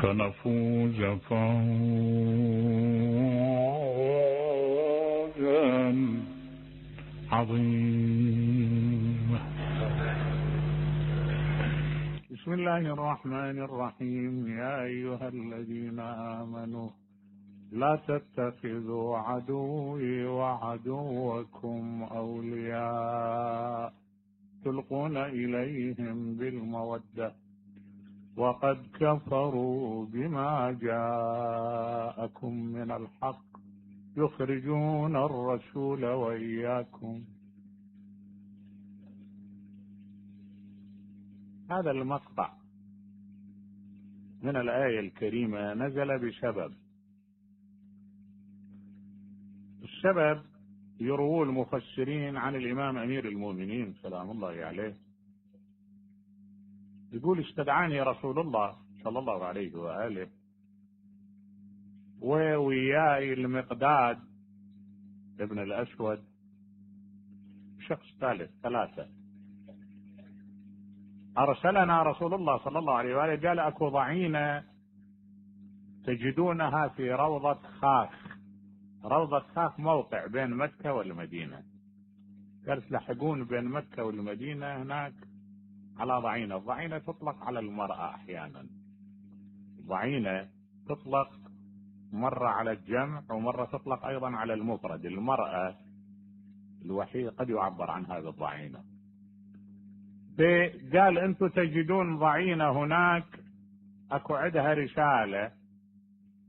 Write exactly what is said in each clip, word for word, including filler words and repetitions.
فنفوز فوزا عظيما. بسم الله الرحمن الرحيم. يا أيها الذين آمنوا لا تتخذوا عدوي وعدوكم أولياء تلقون إليهم بالمودة وقد كفروا بما جاءكم من الحق يخرجون الرسول وإياكم. هذا المقطع من الآية الكريمة نزل بسبب. السبب يروى المفسرين عن الإمام أمير المؤمنين سلام الله عليه، يقول استدعاني رسول الله صلى الله عليه وآله ووياي المقداد ابن الأسود شخص ثالث ثلاثة. أرسلنا رسول الله صلى الله عليه وآله قال أكو ضعينة تجدونها في روضة خاخ. روضة خاخ موقع بين مكة والمدينة، قال تلحقون بين مكة والمدينة هناك على ضعينة. الضعينة تطلق على المرأة أحيانا، ضعينة تطلق مرة على الجمع ومرة تطلق أيضا على المفرد. المرأة الوحيدة قد يعبر عنها بالضعينة. قال أنتم تجدون ضعينة هناك أكو عندها رسالة،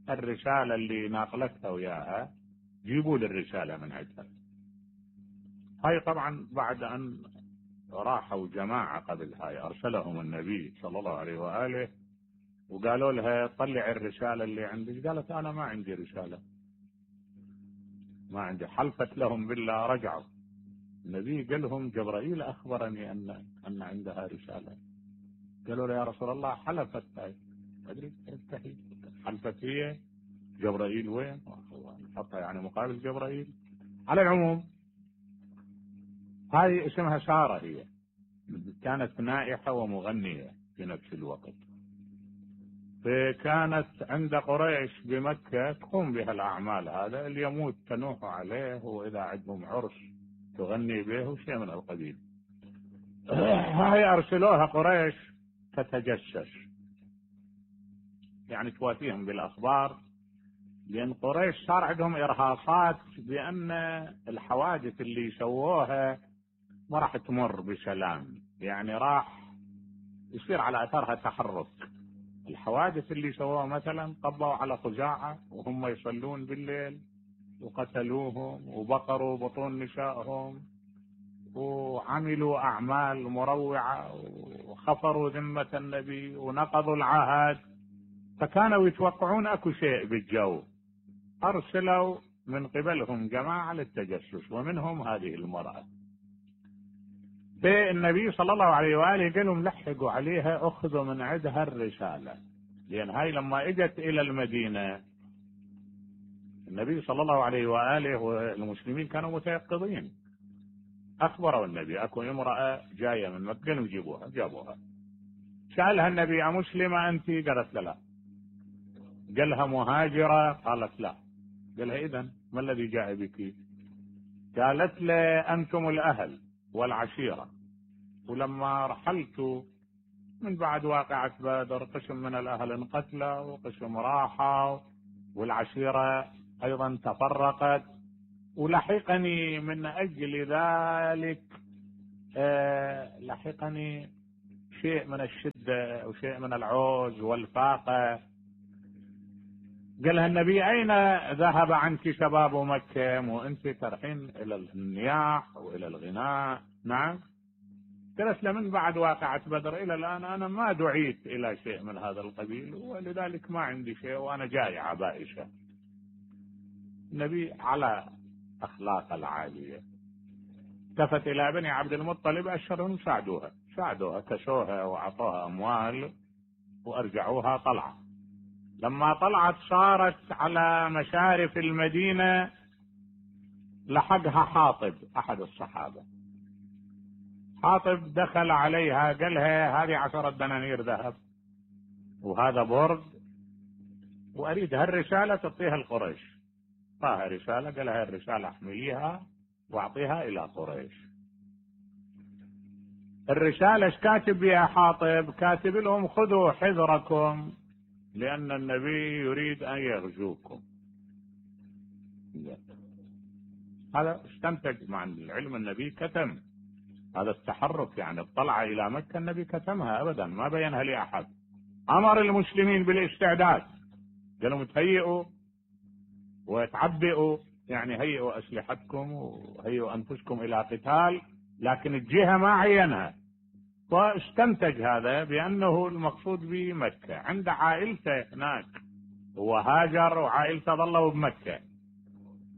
الرسالة اللي ناقلتها وياها جيبوا لي الرسالة من عندها. هاي طبعا بعد أن راحوا جماعة قبل هاي أرسلهم النبي صلى الله عليه وآله وقالوا لها طلع الرسالة اللي عندك. قالت أنا ما عندي رسالة، ما عندي. حلفت لهم بالله. رجعوا النبي قال لهم جبرائيل أخبرني أن أن عندها رسالة. قالوا له يا رسول الله حلفت هاي، ما أدري كيف حلفت هي، جبرائيل وين؟ نحطها يعني مقابل جبرائيل. على العموم هاي اسمها سارة، هي كانت نائحة ومغنية في نفس الوقت، فكانت عند قريش بمكة تقوم بها الأعمال. هذا اللي يموت تنوح عليه، وإذا عندهم عرس تغني به وشيء من القبيل. هاي أرسلوها قريش تتجسس، يعني تواتيهم بالأخبار، لأن قريش صار عندهم إرهاصات بأن الحوادث اللي سووها ما راح تمر بسلام، يعني راح يصير على أثرها تحرك. الحوادث اللي سووها مثلا قبضوا على خزاعة وهم يصلون بالليل وقتلوهم وبقروا بطون نسائهم وعملوا أعمال مروعة وخفروا ذمة النبي ونقضوا العهد، فكانوا يتوقعون أكو شيء بالجو. أرسلوا من قبلهم جماعة للتجسس ومنهم هذه المرأة. فالنبي صلى الله عليه وآله قال لهم لحقوا عليها، أخذوا من عندها الرسالة، لأن هاي لما إجت إلى المدينة النبي صلى الله عليه وآله والمسلمين كانوا متيقظين. أخبروا النبي أكو امرأة جاية من مكة ويجيبوها، جابوها. سألها النبي أمسلمة أنت؟ قالت لا لا. قالها مهاجرة؟ قالت لا. قالها إذن ما الذي جاء بك؟ قالت له أنتم الأهل والعشيرة، ولما رحلت من بعد واقعة بدر قسم من الأهل انقتلوا وقسم راحوا والعشيرة أيضا تفرقت، ولحقني من أجل ذلك آه لحقني شيء من الشدة وشيء من العوز والفاقة. قالها النبي أين ذهب عنك شباب مكة وأنت ترحين إلى النياح وإلى الغناء؟ نعم. قالت له من بعد واقعة بدر إلى الآن أنا ما دعيت إلى شيء من هذا القبيل، ولذلك ما عندي شيء وأنا جائعة بائسة. النبي على أخلاق العالية التفت إلى بني عبد المطلب أشرهم ساعدوها ساعدوها كسوها وعطوها أموال وأرجعوها طلعة. لما طلعت صارت على مشارف المدينة لحقها حاطب أحد الصحابة. حاطب دخل عليها قالها هذه عشرة دنانير ذهب وهذا برد، وأريد هالرسالة تعطيها لقريش. طاها رسالة، قال هاي الرسالة احمليها واعطيها إلى قريش. الرسالة ايش كاتب بها حاطب؟ كاتب لهم خذوا حذركم لأن النبي يريد أن يغزوكم. هذا استنتج مع العلم النبي كتم هذا التحرك، يعني الطلعة إلى مكة النبي كتمها أبدا، ما بينها لأحد. أمر المسلمين بالاستعداد، قالوا تهيئوا وتعبئوا، يعني هيئوا أسلحتكم وهيئوا أنفسكم إلى قتال، لكن الجهة ما عينها. واستنتج هذا بأنه المقصود بمكة، عند عائلته هناك، هو هاجر وعائلته ظلوا بمكة،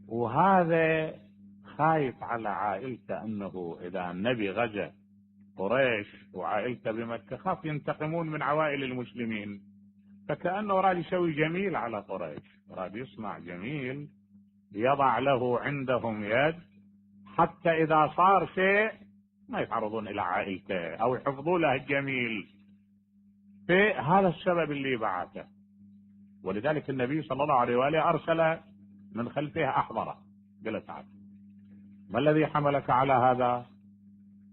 وهذا خايف على عائلته أنه إذا النبي غزا قريش وعائلته بمكة خاف ينتقمون من عوائل المسلمين، فكأنه راد يسوي جميل على قريش، راد يصنع جميل يضع له عندهم يد حتى إذا صار شيء ما يتعرضون إلى عائلته أو يحفظوا له الجميل. في هذا السبب اللي بعثه. ولذلك النبي صلى الله عليه وآله أرسل من خلفه أحضره، قال تعال ما الذي حملك على هذا؟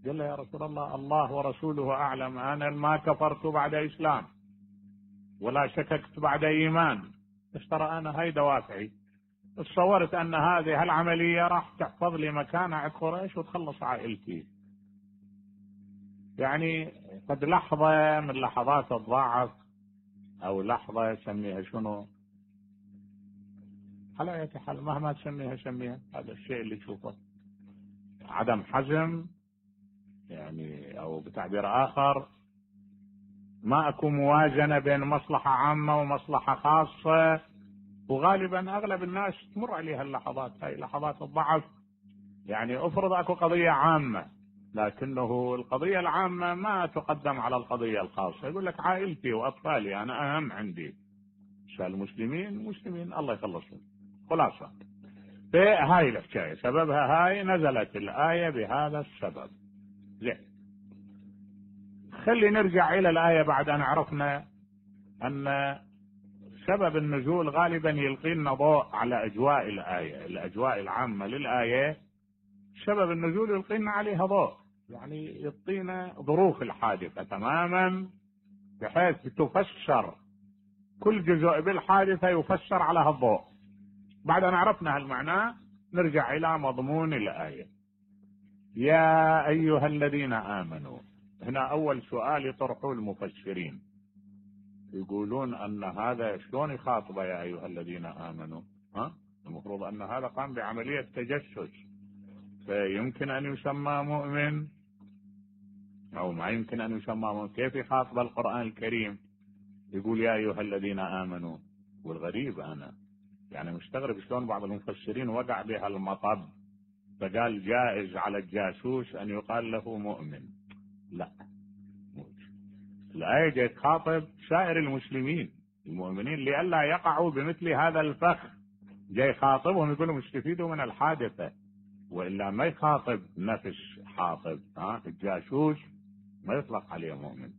قال له يا رسول الله الله ورسوله أعلم، أنا ما كفرت بعد إسلام ولا شككت بعد إيمان، بس ترى أنا هاي دوافعي، تصورت أن هذه العملية راح تحفظ لي مكانة عند قريش وتخلص عائلتي. يعني قد لحظة من لحظات الضعف أو لحظة سميها شنو، على أي حال مهما تسميها سميها، هذا الشيء اللي تشوفه عدم حزم، يعني أو بتعبير آخر ما أكو موازنة بين مصلحة عامة ومصلحة خاصة. وغالبا أغلب الناس تمر عليها اللحظات هاي، لحظات الضعف. يعني أفرض أكو قضية عامة لكنه القضية العامة ما تقدم على القضية الخاصة، يقول لك عائلتي وأطفالي أنا أهم عندي، المسلمين مسلمين الله يخلصهم. خلاصة في هاي الحكاية سببها هاي نزلت الآية بهذا السبب. زين، خلي نرجع إلى الآية بعد أن عرفنا أن سبب النزول غالبا يلقي لنا ضوء على أجواء الآية، الأجواء العامة للآية سبب النزول يلقي لنا عليها ضوء، يعني يعطينا ظروف الحادثة تماما بحيث تفسر كل جزء بالحادثة يفسر على هالضوء. بعد أن عرفنا هالمعنى نرجع إلى مضمون الآية. يا أيها الذين آمنوا، هنا أول سؤال يطرحه المفسرين، يقولون أن هذا شلون يخاطبه يا أيها الذين آمنوا؟ ها؟ المفروض أن هذا قام بعملية تجسس، فيمكن أن يسمى مؤمن أو ما يمكن أن يسمى مؤمن. كيف يخاطب القرآن الكريم يقول يا أيها الذين آمنوا؟ والغريب أنا يعني مستغرب شلون بعض المفسرين وقع بها المطب فقال جائز على الجاسوس أن يقال له مؤمن. لا، الآية جاي تخاطب سائر المسلمين المؤمنين لئلا يقعوا بمثل هذا الفخ، جاي يخاطبهم يقول لهم استفيدوا من الحادثة، وإلا ما يخاطب نفس حاطب. ها الجاسوس ما يطلق عليه مؤمن،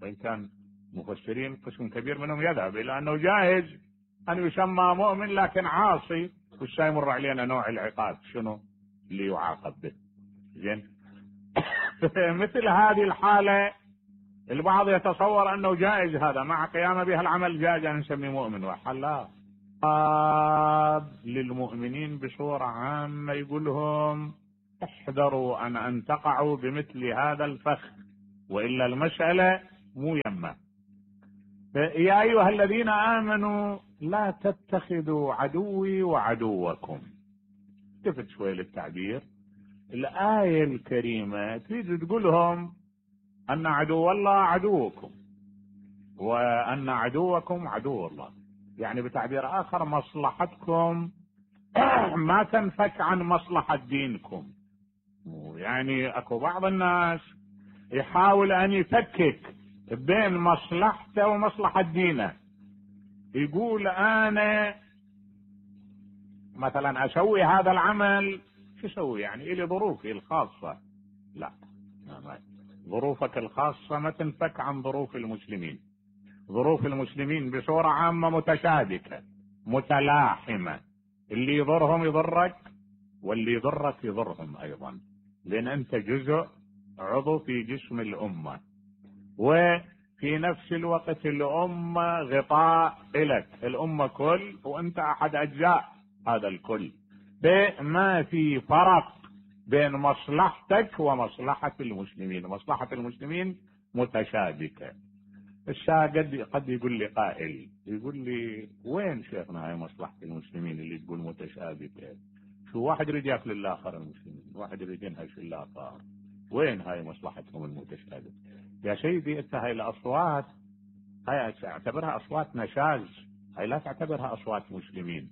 وإن كان مفسرين قسم كبير منهم يذهب إلى أنه جائز أن يسمى مؤمن لكن عاصي، وش يمر علينا نوع العقاب شنو اللي يعاقب به. زين مثل هذه الحالة البعض يتصور أنه جائز هذا مع قيامه بها العمل جائز أن نسميه مؤمن، وحال لا، للمؤمنين بصورة عامة يقول لهم احذروا أن أن تقعوا بمثل هذا الفخ، وإلا المسألة مو يمه. يا أيها الذين آمنوا لا تتخذوا عدوي وعدوكم. التفت شوي للتعبير، الآية الكريمة تريد تقول لهم أن عدو الله عدوكم وأن عدوكم عدو الله، يعني بتعبير آخر مصلحتكم ما تنفك عن مصلحة دينكم. يعني أكو بعض الناس يحاول أن يفكك بين مصلحته ومصلحة دينه، يقول أنا مثلا أسوي هذا العمل، شو أسوي يعني إلي ظروفي الخاصة. لا، ظروفك الخاصة ما تنفك عن ظروف المسلمين، ظروف المسلمين بصورة عامة متشابكة متلاحمة، اللي يضرهم يضرك واللي يضرك يضرهم ايضا، لان انت جزء عضو في جسم الامة، وفي نفس الوقت الامة غطاء لك، الامة كل وانت احد اجزاء هذا الكل، ما في فرق بين مصلحتك ومصلحة المسلمين، مصلحة المسلمين متشابكة. الشاهد قد يقول لي قائل يقول لي وين شيخنا هاي مصلحة المسلمين اللي تقول متشابكة؟ شو واحد يريد ياكل الاخر المسلمين، واحد يريد ينهش الاخر، وين هاي مصلحتهم المتشابكة؟ يا سيدي انت هاي الاصوات هاي اعتبرها اصوات نشاز، هاي لا تعتبرها اصوات مسلمين.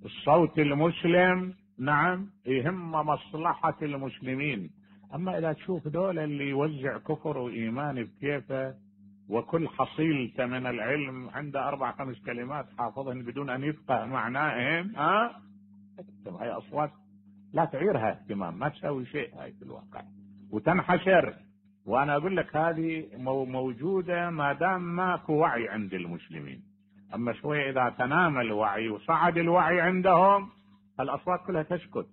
الصوت المسلم نعم يهم مصلحة المسلمين، اما اذا تشوف دول اللي يوزع كفر وايمان بكيفه، وكل حصيلته من العلم عنده اربع خمس كلمات حافظهن بدون ان يفقه معناهن، ها أه؟ هاي اصوات لا تعيرها اهتمام، ما تسوي شيء هاي في الواقع وتنحشر. وانا اقول لك هذه موجودة ما دام ماكو وعي عند المسلمين، اما شوية اذا تنام الوعي وصعد الوعي عندهم الاصوات كلها تسكت،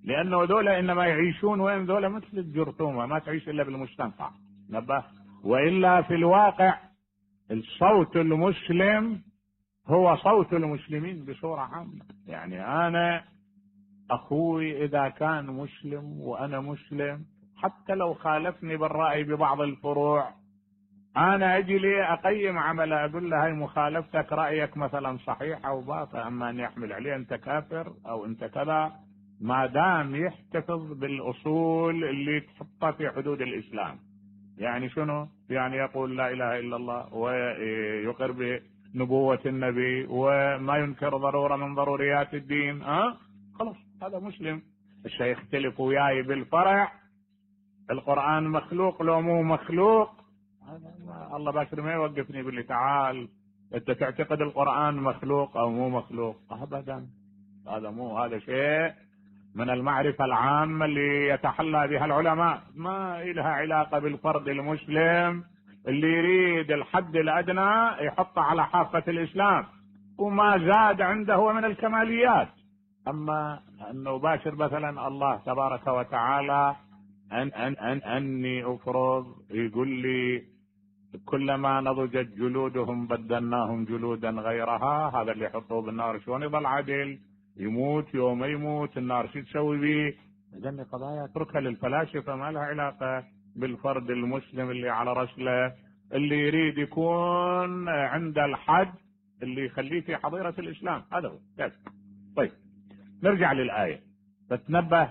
لانه دول انما يعيشون وين؟ دول مثل الجرثومة ما تعيش الا بالمستنقع، نبه. والا في الواقع الصوت المسلم هو صوت المسلمين بصورة عامة. يعني انا اخوي اذا كان مسلم وانا مسلم، حتى لو خالفني بالرأي ببعض الفروع، انا اجي لي اقيم عمله اقول له هاي مخالفتك رأيك مثلا صحيح او باطل، اما ان يحمل عليه انت كافر او انت كذا، ما دام يحتفظ بالاصول اللي تحطها في حدود الاسلام. يعني شنو؟ يعني يقول لا اله الا الله ويقر بنبوة النبي وما ينكر ضرورة من ضروريات الدين، ها خلاص هذا مسلم. الشيخ يختلف وياي بالفرع، القرآن مخلوق لو مو مخلوق، الله باشر ما يوقفني يقول لي تعال انت تعتقد القرآن مخلوق او مو مخلوق، ابدا هذا مو هذا شيء من المعرفة العامة اللي يتحلى بها العلماء، ما لها علاقة بالفرد المسلم اللي يريد الحد الأدنى يحطه على حافة الإسلام، وما زاد عنده هو من الكماليات. أما أنه باشر مثلا الله تبارك وتعالى أن أن أن أني أفرض يقول لي كلما نضجت جلودهم بدلناهم جلودا غيرها، هذا اللي يحطوه بالنار شلون يظل عدل؟ يموت يوم يموت النار شو تسوي به؟ اذن قضايا اتركها للفلاسفه، ما لها علاقه بالفرد المسلم اللي على رسله، اللي يريد يكون عند الحد اللي يخليه في حظيره الاسلام، هذا هو. طيب نرجع للايه فتنبه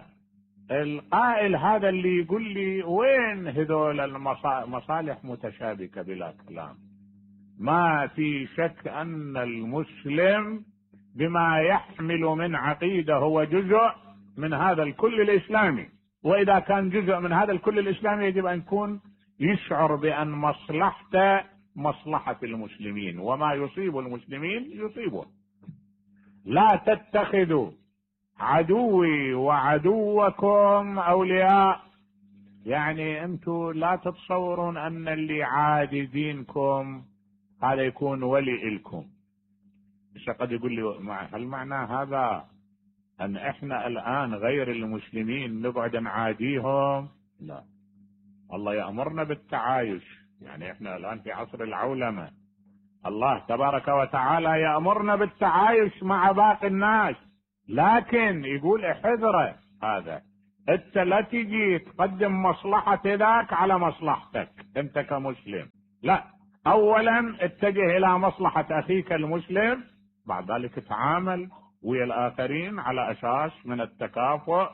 القائل هذا اللي يقول لي وين هذول المصالح متشابكه بلا كلام. ما في شك ان المسلم بما يحمل من عقيدة هو جزء من هذا الكل الإسلامي، وإذا كان جزء من هذا الكل الإسلامي يجب أن يكون يشعر بأن مصلحته مصلحة المسلمين، وما يصيب المسلمين يصيبه. لا تتخذوا عدوي وعدوكم أولياء، يعني أنتم لا تتصورون أن اللي عادي دينكم هذا يكون ولي لكم. قد يقول لي هل معنى هذا ان احنا الان غير المسلمين نقعد نعاديهم؟ لا، الله يأمرنا بالتعايش، يعني احنا الان في عصر العولمة، الله تبارك وتعالى يأمرنا بالتعايش مع باقي الناس، لكن يقول احذره هذا، انت لا تجي تقدم مصلحة ذاك على مصلحتك انت كمسلم، لا، اولا اتجه الى مصلحة اخيك المسلم، بعد ذلك تعامل ويا الاخرين على اساس من التكافؤ،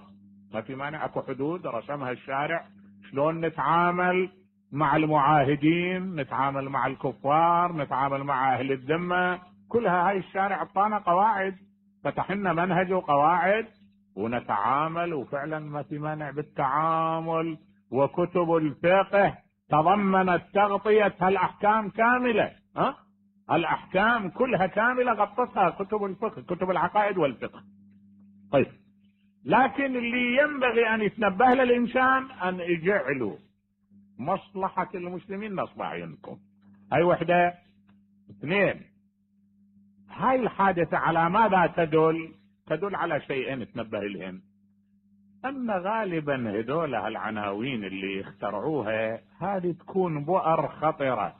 ما في مانع، اكو حدود رسمها الشارع شلون نتعامل مع المعاهدين، نتعامل مع الكفار، نتعامل مع اهل الذمة، كلها هاي الشارع اعطانا قواعد، فتح لنا منهج وقواعد ونتعامل، وفعلا ما في مانع بالتعامل. وكتب الفقه تضمنت تغطية هالاحكام كاملة، ها الاحكام كلها كاملة غطتها كتب الفقه، كتب العقائد والفقه. طيب لكن اللي ينبغي ان يتنبه له الانسان ان يجعلوا مصلحة المسلمين نصب اعينكم، هاي وحدة. اثنين، هاي الحادثة على ماذا تدل؟ تدل على شيئين تنبه لهم، أن غالبا هذول العناوين اللي اخترعوها هذه تكون بؤر خطرة،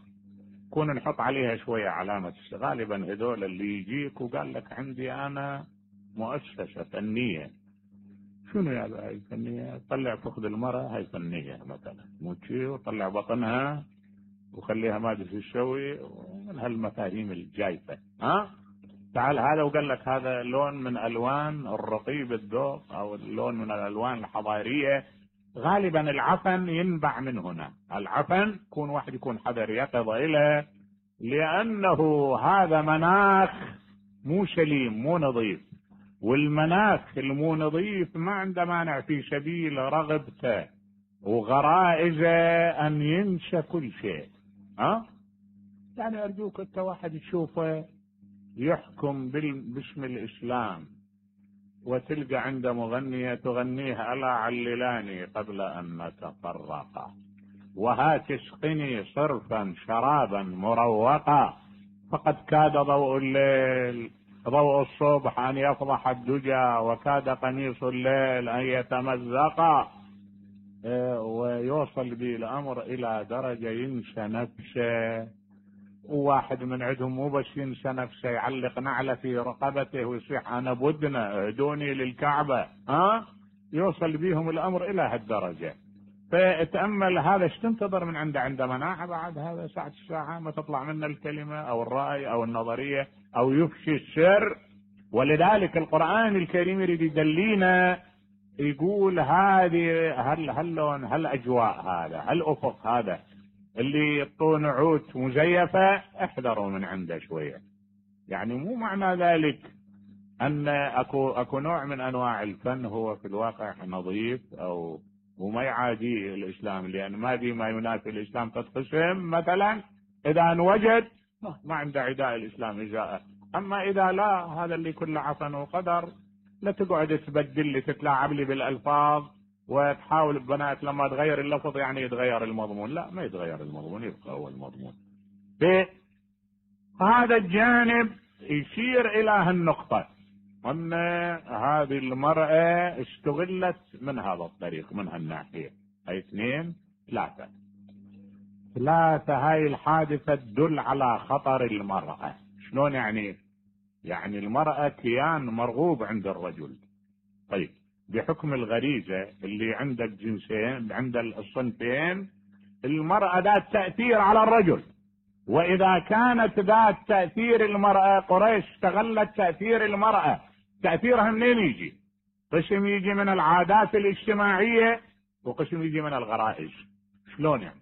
كون نحط عليها شوية علامة. غالبا هذول اللي يجيك وقال لك عندي أنا مؤسسة فنية، شنو يا هاي فنية؟ طلع فخذ المرأة، هاي فنية مثلا، موتشي وطلع بطنها وخليها ماجلس الشوي، من هالمفاهيم الجايفة. ها تعال هذا وقال لك هذا لون من الوان الرطيب الذوق او اللون من الالوان الحضاريه. غالبا العفن ينبع من هنا، العفن يكون واحد يكون حذر يقظ اليه، لانه هذا مناخ مو سليم مو نظيف، والمناخ المو نظيف ما عنده مانع في سبيل رغبته وغرائزه ان ينسى كل شيء. ها يعني ارجوك انت واحد تشوفه يحكم باسم الإسلام وتلقى عند مغنية تغنيه ألا عللاني قبل أن نتفرقا، وهات اسقني صرفا شرابا مروقا، فقد كاد ضوء الليل ضوء الصبح أن يفضح الدجى، وكاد قميص الليل أن يتمزقا. ويوصل به الأمر إلى درجة ينسى نفسه، وواحد من عندهم مو بس ينسى نفسه، يعلق نعلة في رقبته ويصيح انا بدنا اهدوني للكعبة. ها يوصل بيهم الامر الى هالدرجة. فتأمل هذا ايش تنتظر من عنده؟ عنده مناعة بعد هذا ساعة الساعة ما تطلع منه الكلمة او الرأي او النظرية او يفشي السر. ولذلك القرآن الكريم يريد يدلينا، يقول هذه هل هاللون هالاجواء هذا هالافق هذا اللي يعطون عود مزيفة احذروا من عنده شوية. يعني مو معنى ذلك ان اكو اكو نوع من انواع الفن هو في الواقع نظيف او وما يعادي الاسلام، لان ما في ما ينافي الاسلام تتقسم مثلا، اذا وجد ما عنده عداء الاسلام اجاءه. اما اذا لا، هذا اللي كله عفن وقدر، لا تقعد تبدل لي تتلاعب لي بالالفاظ وتحاول البنات لما تغير اللفظ يعني يتغير المضمون. لا، ما يتغير المضمون، يبقى هو المضمون. هذا الجانب يشير الى هالنقطة، ان هذه المرأة استغلت من هذا الطريق من هالناحية. هاي اثنين. ثلاثة ثلاثة هاي الحادثة تدل على خطر المرأة. شلون يعني؟ يعني المرأة كيان مرغوب عند الرجل. طيب بحكم الغريزة اللي عند الجنسين عند الصنفين، المرأة ذات تأثير على الرجل، وإذا كانت ذات تأثير المرأة، قريش استغلت تأثير المرأة. تأثيرها منين يجي؟ قسم يجي من العادات الاجتماعية وقسم يجي من الغرائز. شلون يعني؟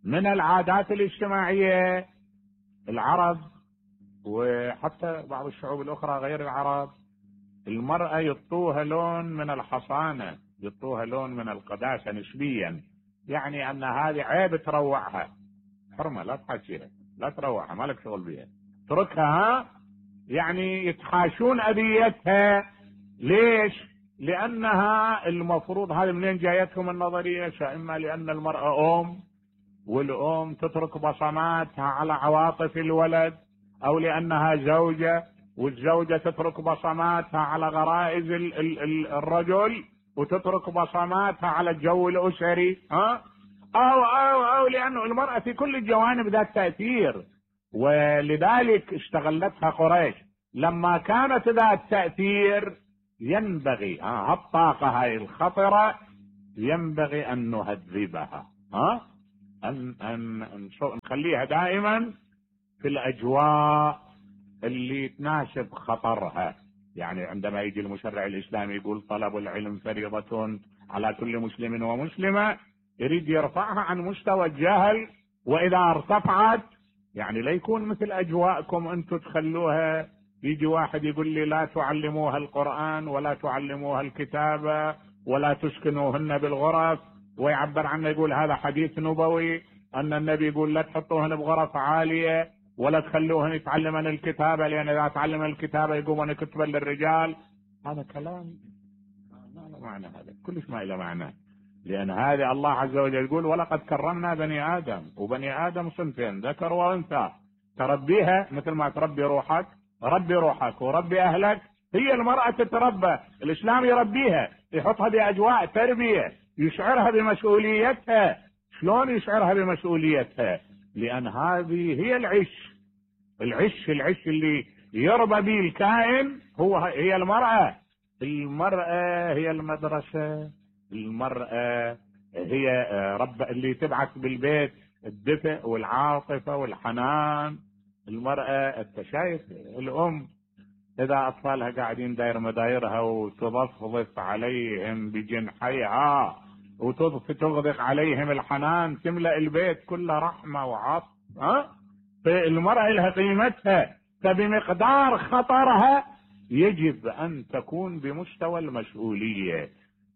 من العادات الاجتماعية العرب وحتى بعض الشعوب الأخرى غير العرب، المرأة يعطوها لون من الحصانة، يعطوها لون من القداسة نسبيا، يعني أن هذه عيب تروعها، حرمة لا تحاشيها لا تروعها ما لك شغل بها، تركها. ها يعني يتحاشون أذيتها. ليش؟ لأنها المفروض، هذه منين جايتهم النظرية؟ إما لأن المرأة أم والأم تترك بصماتها على عواطف الولد، أو لأنها زوجة والزوجة تترك بصماتها على غرائز ال ال ال الرجل وتترك بصماتها على الجو الأسري. ها أو أو أو لأنه المرأة في كل الجوانب ذات تأثير، ولذلك استغلتها قريش. لما كانت ذات تأثير ينبغي ها الطاقة هاي الخطرة ينبغي أن نهذبها، ها أن أن نخليها دائما في الأجواء اللي تناسب خطرها. يعني عندما يجي المشرع الإسلامي يقول طلب العلم فريضة على كل مسلم ومسلمة، يريد يرفعها عن مستوى الجهل، وإذا ارتفعت يعني لا يكون مثل أجواءكم أنتم تخلوها. يجي واحد يقول لي لا تعلموها القرآن ولا تعلموها الكتابة ولا تسكنوهن بالغرف، ويعبر عنه يقول هذا حديث نبوي أن النبي يقول لا تحطوهن بغرف عالية ولا تخلوهن يتعلمن الكتابة، لأن إذا تعلم الكتابة يقومون كتبا للرجال. هذا كلام ما له معنى، هذا كلش ما له معنى. لأن هذه الله عز وجل يقول ولقد كرمنا بني آدم، وبني آدم صنفين ذكر وأنثى، تربيها مثل ما تربي روحك، ربي روحك وربي أهلك. هي المرأة تتربى، الإسلام يربيها، يحطها بأجواء تربية، يشعرها بمسؤوليتها. شلون يشعرها بمسؤوليتها؟ لأن هذه هي العش العش العش اللي يربى به الكائن، هو هي المرأة. المرأة هي المدرسة، المرأة هي رب اللي تبعث بالبيت الدفء والعاطفة والحنان. المرأة انت شايف الأم إذا أطفالها قاعدين داير مدايرها وتضفضف عليهم بجنحيها وتغدق عليهم الحنان، تملأ البيت كله رحمة وعطف. ها فالمرأة لها قيمتها، فبمقدار خطرها يجب أن تكون بمستوى المسؤولية.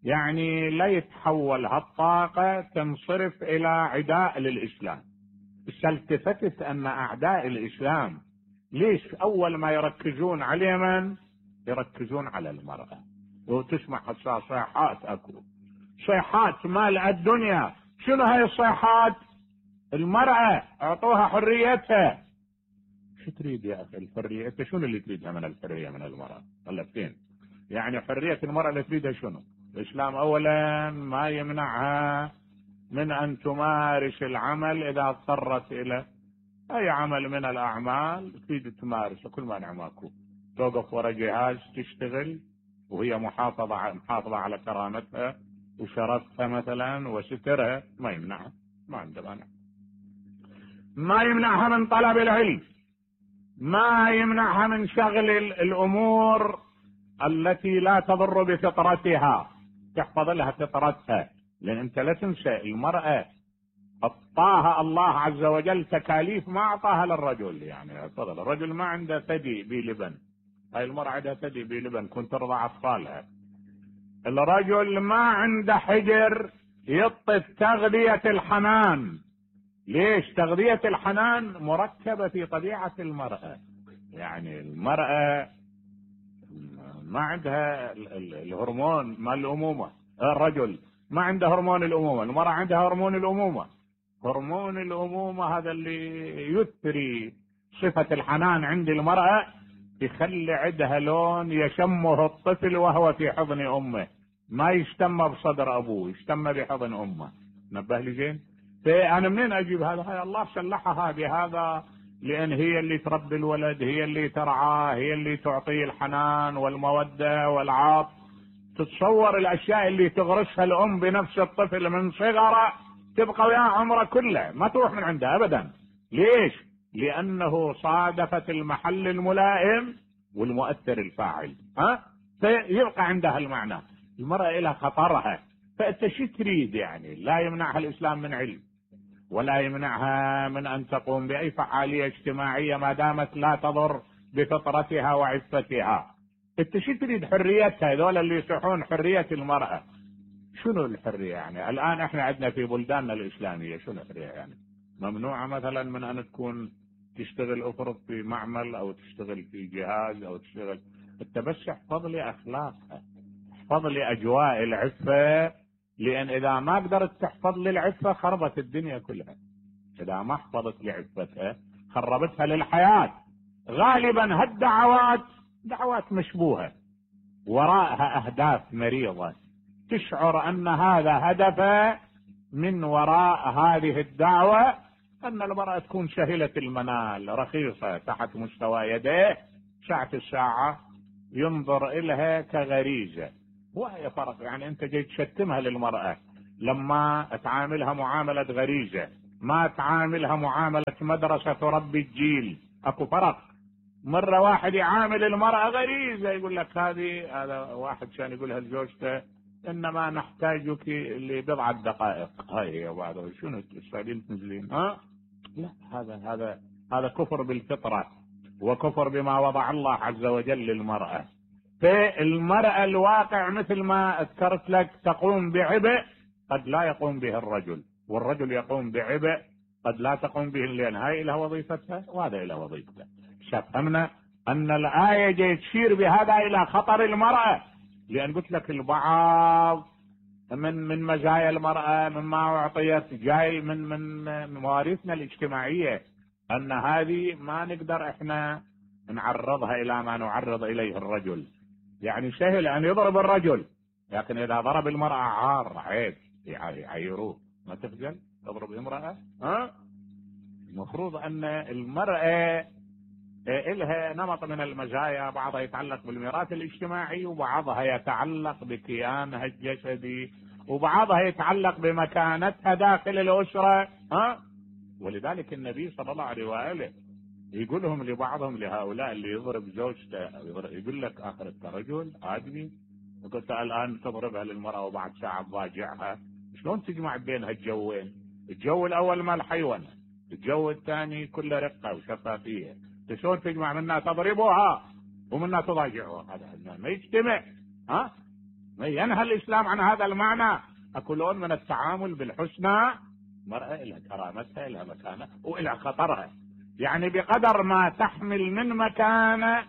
يعني لا يتحول هالطاقة تنصرف إلى عداء للإسلام. التفتت أن أعداء الإسلام ليش أول ما يركزون على من؟ يركزون على المرأة. وتسمع صيحات، أكو صيحات مال الدنيا. شنو هاي الصيحات؟ المرأة اعطوها حريتها. شو تريد يا أخي الحرية؟ انت شنو اللي تريدها من الحرية من المرأة؟ ولا فين؟ يعني حرية المرأة اللي تريدها شنو؟ الإسلام أولا ما يمنعها من أن تمارس العمل إذا اضطرت إلى أي عمل من الأعمال تريد تمارسه، كل ما نعماكو توقف ورا جهاز تشتغل وهي محافظة محافظة على كرامتها وشرفها مثلا وسترها، ما يمنعها، ما عنده مانع. ما يمنعها من طلب العلم، ما يمنعها من شغل الأمور التي لا تضر بفطرتها، تحفظ لها فطرتها. لأن أنت لا تنسى المرأة أعطاها الله عز وجل تكاليف ما أعطاها للرجل. يعني تفضل، الرجل ما عنده ثدي بلبن، هاي المرأة عندها ثدي بلبن كنت ترضع أطفالها. الرجل ما عنده حجر يطف تغذية الحنان. ليش؟ تغذية الحنان مركبة في طبيعة المرأة. يعني المرأة ما عندها الهرمون مال الأمومة، الرجل ما عنده هرمون الأمومة، المرأة عندها هرمون الأمومة. هرمون الأمومة هذا اللي يثري صفة الحنان عند المرأة، يخلي عندها لون يشمه الطفل وهو في حضن أمه، ما يشتم بصدر أبوه، يشتم بحضن أمه. نبه لي زين؟ فأنا منين أجيب هذا؟ هاي الله سلحها بهذا، لأن هي اللي تربي الولد، هي اللي ترعاه، هي اللي تعطيه الحنان والمودة والعاطف. تتصور الأشياء اللي تغرسها الأم بنفس الطفل من صغره تبقى وياه عمره كله، ما تروح من عنده أبدا. ليش؟ لأنه صادفت المحل الملائم والمؤثر الفاعل، ها؟ فيبقى عندها المعنى. المرأة لها خطرها، فأنت شو تريد؟ يعني لا يمنعها الإسلام من علم، ولا يمنعها من أن تقوم بأي فعالية اجتماعية ما دامت لا تضر بفطرتها وعفتها. انت شو تريد؟ حريتها. هذول اللي يصيحون حرية المرأة، شنو الحرية يعني؟ الآن احنا عندنا في بلداننا الإسلامية شنو الحرية يعني؟ ممنوعة مثلا من أن تكون تشتغل أفرض في معمل أو تشتغل في جهاز أو تشتغل. انت بس احفظ لي أخلاقها، احفظ لي أجواء العفة، لأن إذا ما قدرت تحفظ لي العفة خربت الدنيا كلها. إذا ما حفظت لي عفتها خربتها للحياة. غالبا هالدعوات دعوات مشبوهة وراءها أهداف مريضة، تشعر أن هذا هدف من وراء هذه الدعوة أن المرأة تكون سهلة المنال، رخيصة تحت مستوى يديه، ساعة الساعة ينظر إليها كغريزة. وهي فرق. يعني أنت جاي تشتمها للمرأة لما تعاملها معاملة غريزة، ما تعاملها معاملة مدرسة تربي الجيل. أكو فرق. مرة واحد يعامل المرأة غريزة، يقول لك هذه، هذا واحد كان يقولها لزوجته إنما نحتاجك لبضعة دقائق. هاي يا بعض شنو السعوديين تنزلين؟ ها لا، هذا هذا هذا كفر بالفطرة وكفر بما وضع الله عز وجل للمرأة. فالمرأة الواقع مثل ما ذكرت لك تقوم بعبء قد لا يقوم به الرجل، والرجل يقوم بعبء قد لا تقوم به، لأن هاي لها وظيفتها وهذا لها وظيفته. فهمنا أن الآية جاي تشير بهذا إلى خطر المرأة، لأن قلت لك البعض من من مزايا المرأة مما أعطيت، جاي من من مواريثنا الاجتماعية، أن هذه ما نقدر إحنا نعرضها إلى ما نعرض إليه الرجل. يعني سهل أن يضرب الرجل، لكن إذا ضرب المرأة عار، عيب، يعيروه. ما تخجل تضرب امرأة؟ ها؟ المفروض أن المرأة إلها نمط من المزايا، بعضها يتعلق بالميراث الاجتماعي، وبعضها يتعلق بكيانها الجسدي، وبعضها يتعلق بمكانتها داخل الأسرة. ها؟ ولذلك النبي صلى الله عليه وآله يقولهم لبعضهم، لهؤلاء اللي يضرب زوجته يقول لك آخرك كرجل آدمي، وقلت الآن تضربها للمرأة وبعد ساعة تضاجعها، شلون تجمع بينها الجوين؟ الجو الأول مال حيوانة، الجو الثاني كله رقة وشفافية، شلون تجمع منها تضربها ومنها تضاجعها؟ هذا ما يجتمع. ها؟ ما ينهى الإسلام عن هذا المعنى. أكو لون من التعامل بالحسنى، مرأة إلها كرامتها، إلها مكانة، وإلها خطرها. يعني بقدر ما تحمل من مكانة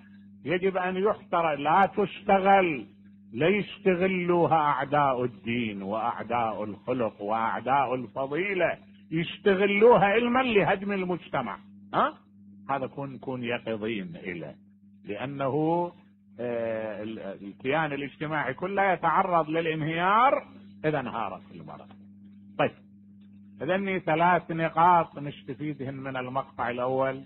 يجب أن يحترى، لا تشتغل، لا يستغلوها أعداء الدين وأعداء الخلق وأعداء الفضيلة، يستغلوها علما لهدم المجتمع. ها؟ هذا كون كون يقظين إليه، لأنه آه الكيان الاجتماعي كله يتعرض للانهيار إذا انهارت المرأة. طيب، إذن ثلاث نقاط نستفيدهن من المقطع الأول.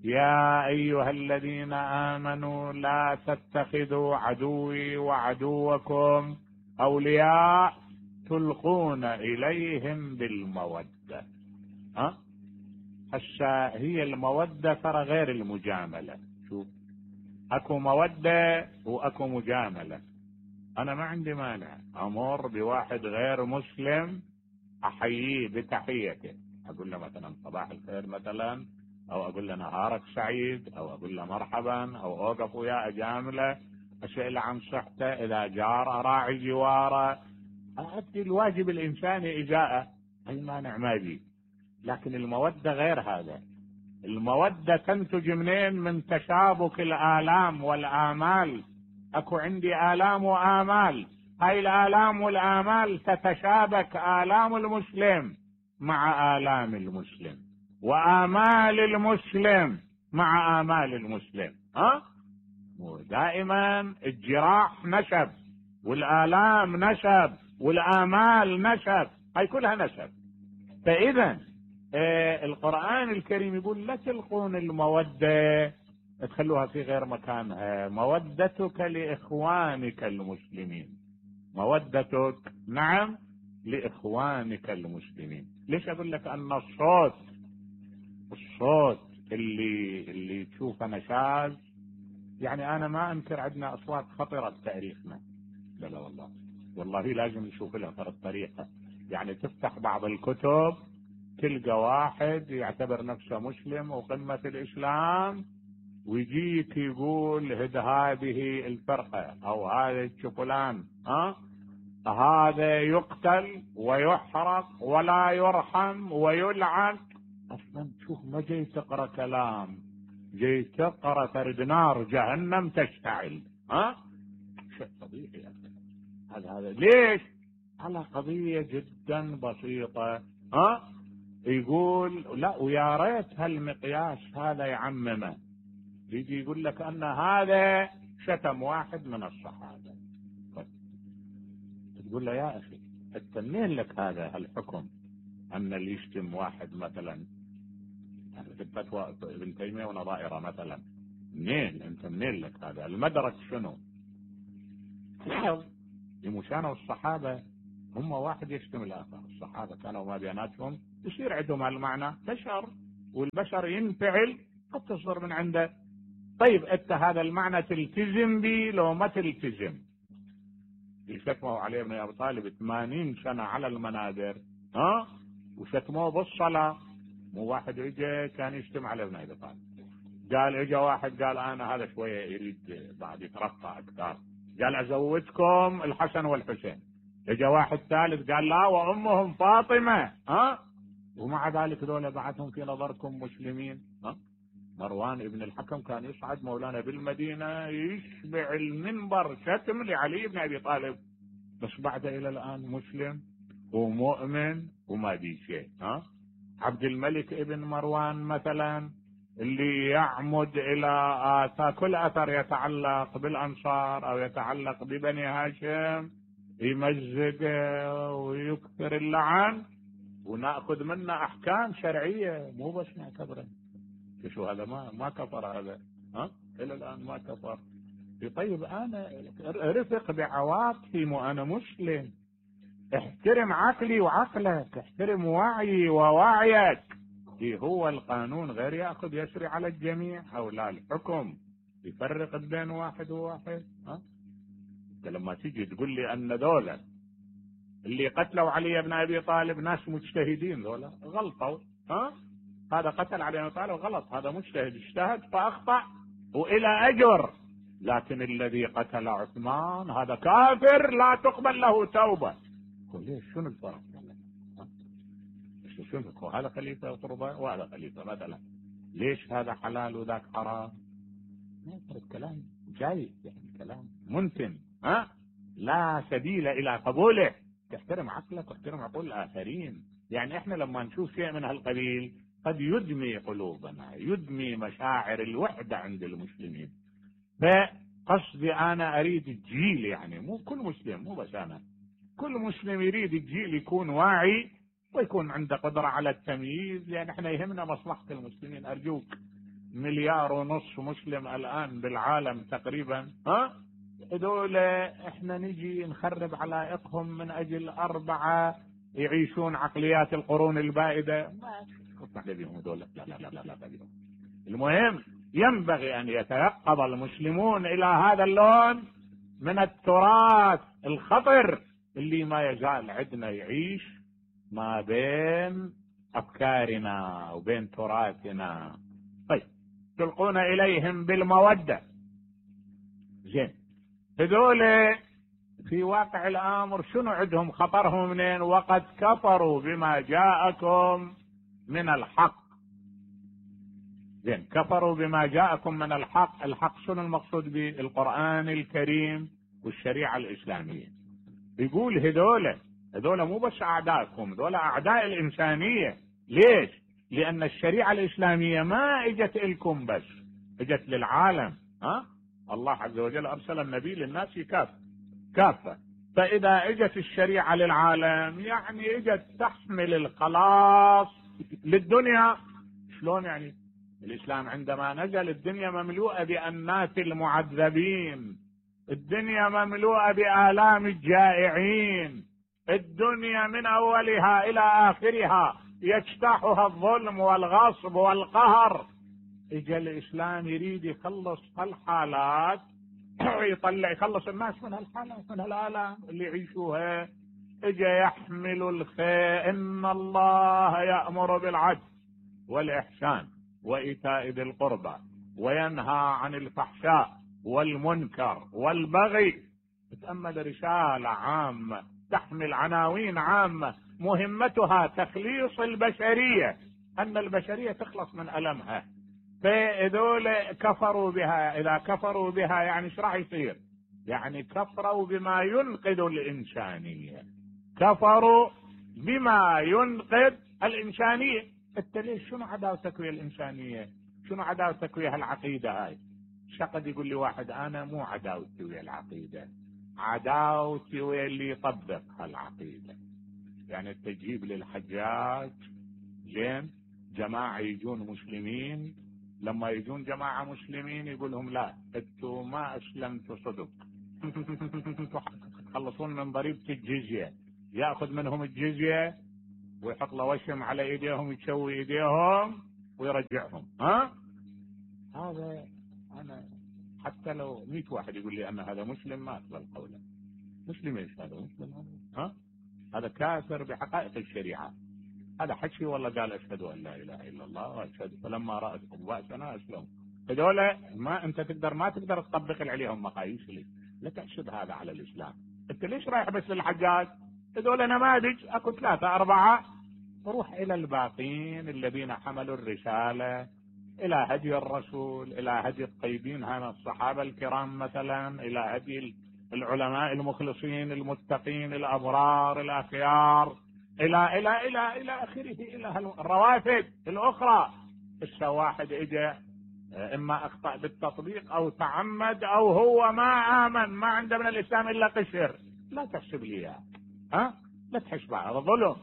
يا أيها الذين آمنوا لا تتخذوا عدوي وعدوكم أولياء تلقون إليهم بالمودة. ها؟ هسه هي المودة ترى غير المجاملة. شوف، أكو مودة وأكو مجاملة. أنا ما عندي مانع أمر بواحد غير مسلم أحييه بتحيته، أقول له مثلا صباح الخير مثلا، أو أقول له نهارك سعيد، أو أقول له مرحبا، أو أوقف وياه أجامله، أسأل عن صحته، إذا جار أراعي جواره، أؤدي الواجب الإنساني إجاءه، أي مانع ما بي. لكن المودة غير هذا. المودة تنتج منين؟ من تشابك الآلام والآمال. أكو عندي آلام وآمال، هاي الآلام والآمال تتشابك، آلام المسلم مع آلام المسلم، وآمال المسلم مع آمال المسلم. ها؟ ودائما الجراح نشب، والآلام نشب، والآمال نشب، هاي كلها نشب. فإذا آه القرآن الكريم يقول لا تلقون المودة، تخلوها في غير مكانها. مودتك لإخوانك المسلمين، مودتك نعم لإخوانك المسلمين. ليش أقول لك أن الصوت الصوت اللي اللي تشوفه نشاز؟ يعني أنا ما أنكر عندنا أصوات خطرة بتاريخنا، لا لا والله والله لازم نشوف لها فرق طريقة. يعني تفتح بعض الكتب تلقى واحد يعتبر نفسه مسلم وقمة الإسلام، ويجيك يقول هد هذه الفرقة أو هذا الشفلان، ها هذا يقتل ويحرق ولا يرحم ويلعن. أصلا شوف، ما جاي تقرأ كلام، جاي تقرأ ترد نار جهنم تشتعل. ها؟ شيء طبيعي يا أخي. هذا هذا ليش؟ على قضية جدا بسيطة. ها؟ يقول لا، ويا ريت هالمقياس هذا يعممه. يجي يقول لك أن هذا شتم واحد من الصحابة، تقول له يا أخي أنت منين لك هذا الحكم أن اللي يشتم واحد مثلا في الفتوى ابن تيمية ونظائره مثلا؟ منين أنت منين لك هذا المدرك؟ شنو؟ لاحظ لمشانة الصحابة هم واحد يشتم الآخر. الصحابة كانوا ما بيناتهم يصير عندهم هالمعنى، بشر، والبشر ينفعل قد تصدر من عنده. طيب أنت هذا المعنى تلتزم به لو ما تلتزم؟ يشتموا علي ابن أبي طالب ثمانين سنة على المنابر، ها؟ وشتموه بالصلاة. مو واحد اجى كان يشتم على ابن أبي طالب، قال اجى واحد قال انا هذا شوية يريد بعد يترقى اكثر، قال ازودكم الحسن والحسين. اجى واحد ثالث قال لا وامهم فاطمة، ها؟ ومع ذلك ذولا بعدهم في نظركم مسلمين. ها؟ مروان ابن الحكم كان يصعد مولانا بالمدينة يشبع المنبر شتم لعلي بن أبي طالب. بس بعد الى الان مسلم ومؤمن وما بي شيء. ها عبد الملك ابن مروان مثلا اللي يعمد الى آثار، كل اثر يتعلق بالانصار او يتعلق ببني هاشم يمزق ويكثر اللعن وناخذ منه احكام شرعيه، مو بس نعتبره. شو هذا؟ ما ما كفر هذا، ها الى الان ما كفر. طيب انا رفق بعواطفي وانا مسلم، احترم عقلي وعقلك، احترم وعي ووعيك. هو القانون غير ياخذ يسري على الجميع او لا الحكم يفرق بين واحد وواحد. ها لما تيجي تقول لي ان دولة اللي قتلوا علي بن ابي طالب ناس مجتهدين، دولة غلطوا، ها هذا قتل علي بن ابي طالب غلط، هذا مجتهد اجتهد فاخطأ والى اجر. لكن الذي قتل عثمان هذا كافر لا تقبل له توبة. ليش؟ شنو الفرق؟ شنو هذا خليفة قربة وهذا خليفة مثلا، ليش هذا حلال وذاك حرام؟ كلام جاي يعني كلام ممكن، ها لا سبيل الى قبوله. تحترم عقلك واحترم عقول الاخرين. يعني احنا لما نشوف شيء من هالقبيل قد يدمي قلوبنا، يدمي مشاعر الوحدة عند المسلمين. فقصدي انا اريد الجيل، يعني مو كل مسلم، مو بس انا، كل مسلم يريد الجيل يكون واعي ويكون عنده قدرة على التمييز، لان احنا يهمنا مصلحة المسلمين. ارجوك، مليار ونص مسلم الان بالعالم تقريبا، ها هذول احنا نجي نخرب علائقهم من اجل اربعة يعيشون عقليات القرون البائدة؟ ما بهم دول. لا لا لا لا لا لا. المهم ينبغي ان يتيقظ المسلمون الى هذا اللون من التراث الخطر اللي ما يزال عندنا يعيش ما بين افكارنا وبين تراثنا. طيب تلقون اليهم بالمودة، زين هذول في واقع الامر شنو عندهم خطرهم منين؟ وقد كفروا بما جاءكم من الحق. زين كفروا بما جاءكم من الحق. الحق شنو المقصود به؟ القرآن الكريم والشريعة الإسلامية. يقول هذول هذول مو بس اعدائكم، هذول اعداء الانسانية. ليش؟ لان الشريعة الإسلامية ما اجت لكم بس، اجت للعالم. ها الله عز وجل ارسل النبي للناس كافة كافة. فاذا اجت الشريعة للعالم يعني اجت تحمل الخلاص للدنيا. شلون يعني؟ الاسلام عندما نزل الدنيا مملوءة بأناس المعذبين، الدنيا مملوءة بآلام الجائعين، الدنيا من اولها الى اخرها يجتاحها الظلم والغصب والقهر. اجى الاسلام يريد يخلص هالحالات يطلع يخلص الناس من هالحالات، من هالآلام اللي يعيشوها. اجى يحمل الخير. ان الله يأمر بالعدل والإحسان وإيتاء ذي القربى وينهى عن الفحشاء والمنكر والبغي. تأمل رسالة عامة تحمل عناوين عامة مهمتها تخليص البشرية، أن البشرية تخلص من ألمها. فذول كفروا بها. إذا كفروا بها يعني ايش راح يصير؟ يعني كفروا بما ينقذ الإنسانية، كفروا بما ينقذ الإنسانية. انت ليش؟ شنو عداوتك ويا الإنسانية؟ شنو عداوتك ويا العقيدة هاي؟ شقد يقول لي واحد انا مو عداوتي ويا العقيدة، عداوتي ويا اللي يطبق هالعقيدة. يعني تجيب للحجاج زين جماعة يجون مسلمين، لما يجون جماعة مسلمين يقول لهم لا انتوا ما اسلمتوا صدق تخلصون من ضريبة الجزية. ياخذ منهم الجزية ويحط له وشم على ايديهم يتشوي ايديهم ويرجعهم. ها هذا انا حتى لو مئة واحد يقول لي ان هذا مسلم ما اقبل قوله. مسلم ايش هذا؟ مسلم هذا ها هذا كافر بحقائق الشريعة. هذا حكي والله قال اشهد ان لا اله الا الله واشهد فلما رأتهم بأسنا اسلموا. هذول ما انت تقدر ما تقدر تطبق عليهم مقاييس لي لا تحسب هذا على الاسلام. انت ليش رايح بس للحجاج؟ هذول نماذج اكو ثلاثة اربعة، روح الى الباقين الذين حملوا الرسالة الى هدي الرسول، الى هدي الطيبين هنا الصحابة الكرام مثلا، الى هدي العلماء المخلصين المتقين الأبرار الأخيار إلى إلى إلى إلى آخره، إلى الروافد الأخرى. بس واحد إجا إما أخطأ بالتطبيق أو تعمد أو هو ما آمن، ما عنده من الإسلام إلا قشر، لا تحسب لي إياه، ها لا تحسب على ظلم.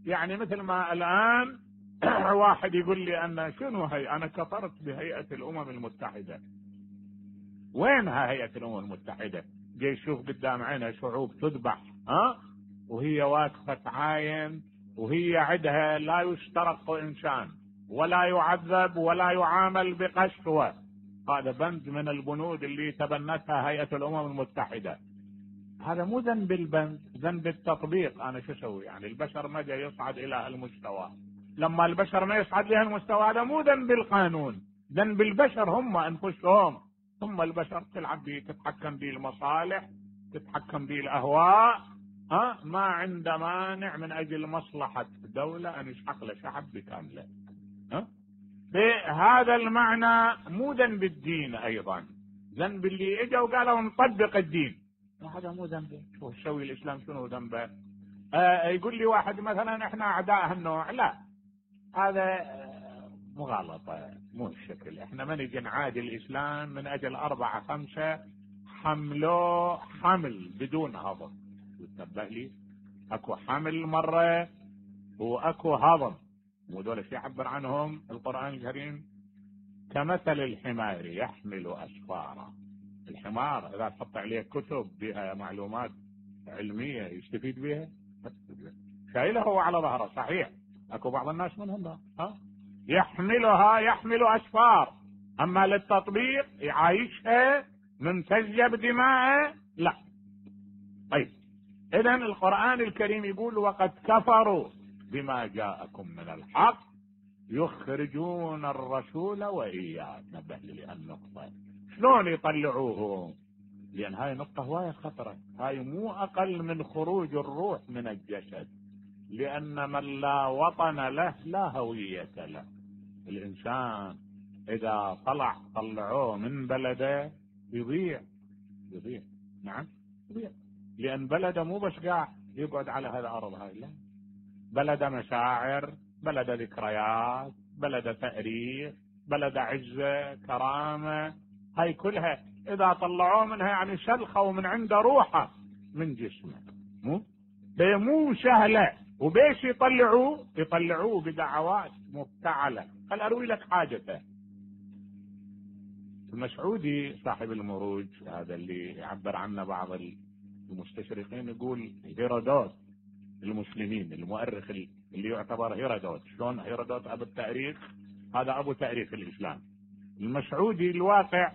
يعني مثل ما الآن واحد يقول لي أنا شنو هي، أنا كفرت بهيئة الأمم المتحدة. وينها هيئة الأمم المتحدة؟ جاي يشوف قدام عينه شعوب تذبح، ها وهي واقفة تعاين، وهي عندها لا يسترق إنسان ولا يعذب ولا يعامل بقسوة. هذا بند من البنود اللي تبنتها هيئة الأمم المتحدة. هذا مو ذنب البند، ذنب التطبيق. أنا شو أسوي؟ يعني البشر ما جاي يصعد إلى هالمستوى. لما البشر ما يصعد لهالمستوى هذا مو ذنب القانون، ذنب البشر هم أنفسهم. ثم البشر تلعب به، تتحكم به المصالح، تتحكم به الأهواء، ها ما عنده مانع من أجل مصلحة دولة أن يسحق له شعب بكامله. ها بهذا المعنى مو ذنب الدين، أيضا ذنب اللي اجوا وقالوا نطبق الدين، هذا مو ذنبه. شو يسوي الإسلام؟ شنو ذنبه؟ آه يقول لي واحد مثلا احنا أعداء هالنوع، لا هذا مغالطة، مو الشكل. احنا ما نجي نعادي الإسلام من أجل أربعة خمسة حملوا حمل بدون هضم. وتنبه لي اكو حمل مرة واكو هضم، مو دول شي يعبر عنهم القرآن الكريم كمثل الحمار يحمل أسفارا. الحمار إذا تحط عليه كتب بها معلومات علمية يستفيد بها، شايله هو على ظهره. صحيح اكو بعض الناس منهم ها يحملها يحمل أسفار، أما للتطبيق يعايشها ممتزجة بدماءه لا. طيب إذن القرآن الكريم يقول وقد كفروا بما جاءكم من الحق يخرجون الرسول وإياه. نبه لي النقطة، شلون يطلعوهم؟ لأن هاي نقطة هواية خطرة، هاي مو أقل من خروج الروح من الجسد. لأن من لا وطن له لا هوية له. الإنسان إذا طلع طلعوه من بلده يضيع يضيع نعم يضيع، لأن بلده مو بس قاعد يقعد على هذا الأرض هاي، لا، بلده مشاعر، بلده ذكريات، بلده تاريخ، بلده عزة كرامة. هاي كلها إذا طلعوه منها يعني شلخوا من عنده روحه من جسمه. مو مو سهلة. وبيش يطلعوه؟ يطلعوه بدعوات مفتعلة. خل أروي لك حاجته. المسعودي صاحب المروج هذا اللي يعبر عنه بعض المستشرقين يقول هيرودوت المسلمين، المؤرخ اللي يعتبر هيرودوت. شلون هيرودوت أبو التاريخ؟ هذا أبو تاريخ الإسلام. المسعودي الواقع